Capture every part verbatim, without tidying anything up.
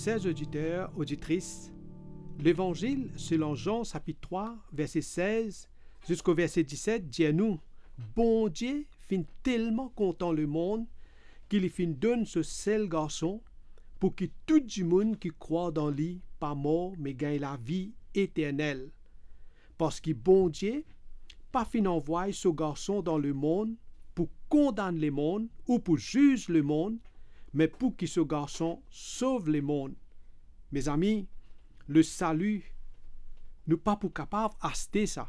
Ser oditer, oditris, Levanzil selon Zan sapit trwa, verse sez ziska verse diset dir nou, Bondie finn telman kontan lemonn ki li finn donn so sel Garson, pou ki tou dimoun ki krwar dan li pa mor, me gagn lavi eternel. Parski Bondie pa finn anvway so Garson dan lemonn pou kondann lemonn ou pou ziz lemonn, me pou ki so Garson sov lemonn. Mezami, lesali, nou pa pou kapav aste sa.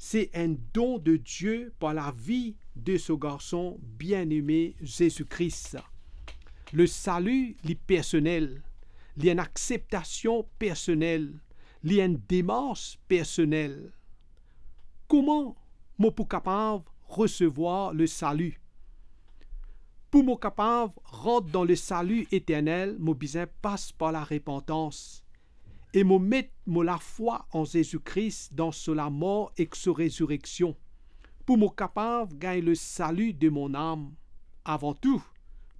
Se enn don de Die par lavi de so Garson bieneme Zezi Kris. Lesali, li personel, li enn akseptasion personel, li enn demars personel. Kouma mo pou kapav resevwar lesali? Pou mo kapav rant dan lesali eternel, mo bizin pas par larepantans e mo met mo lafwa an Zezi Kris, dan so lamor ek so rezireksion, pou mo kapav gagn lesali de mo nam. Avan tou,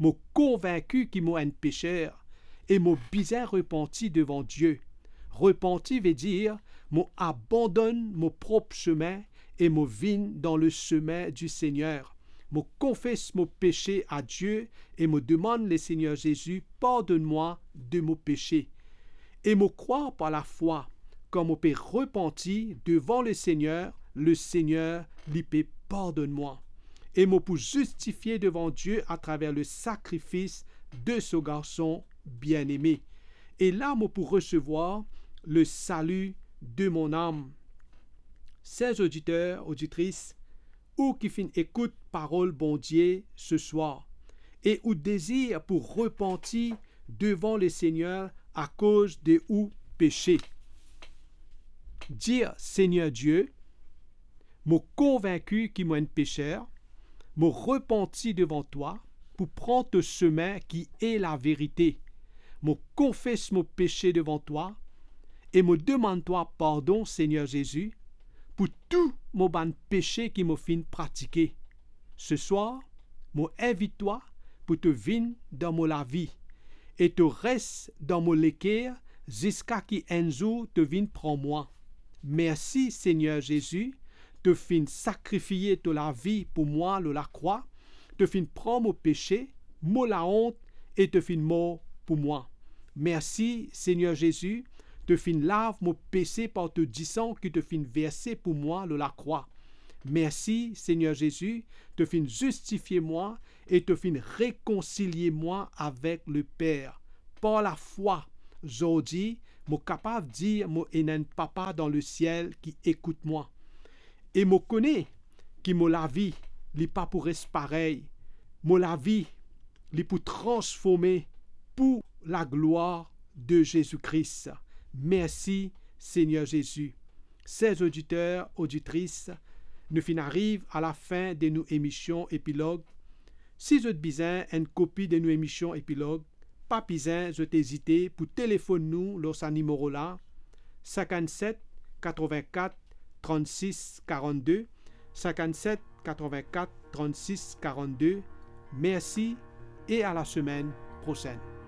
mo konvinki ki mo enn peser e mo bizin repanti devan Die. Repanti vedir mo abandonn mo prop semin e mo vinn dan lesemi di Segner. Mo konfes mo pese a Die e mo demann Lesegner Zezi pardonn mwa de mo pese. E mo krwar par lafwa, kan mo pe repanti devan Lesegner, Lesegner, li pe pardonn mwa. E mo pou zistifie devan Die atraver lesakrifis de so Garson bieneme. E la mo pou resevwar lesali de mo nam. Ser oditer, oditris, ou ki finn ekout parol Bondie seswar, e ou dezir pou repanti devan Lesegner akoz de ou pese. Dir, Segner Die, mo konvinki ki mo enn peser, mo repanti devan twa pou pran to semin ki e laverite. Mo konfes mo pese devan twa e mo demann twa pardon, Segner Zezi, pou tou mo bann pese ki mo finn pratike. Seswar, mo invit twa pou to vinn dan mo lavi e to res dan mo leker ziska ki enn zour to vinn pran mwa. Mersi, Segner Zezi, to finn sakrifie to lavi pou mwa lor lakrwa, to finn pran mo pese, mo laont e to finn mor pou mwa. Mersi, Segner Zezi, to finn lav mo pese par to disan ki to finn verse pou mwa lor lakrwa. Mersi, Segner Zezi, to finn zistifie mwa e to finn rekonsilie mwa avek Leper. Par lafwa, zordi, mo kapav dir mo ena enn Papa dan lesiel ki ekout mwa. E mo kone ki mo lavi, li pa pou res parey. Mo lavi, li pou transforme pou laglwar de Zezi Kris. Mersi, Segner Zezi. Ser oditer, oditris, nou finn ariv a lafin de nou emision Epilog. Si zot bizin enn kopi de nou emision Epilog, pa bizin zot ezite pou telefonn nou lor sa nimero la, sinkannset katrovin-kat trannsis karannde, sinkannset katrovin-kat trannsis karannde. Mersi e a lasemenn prosenn.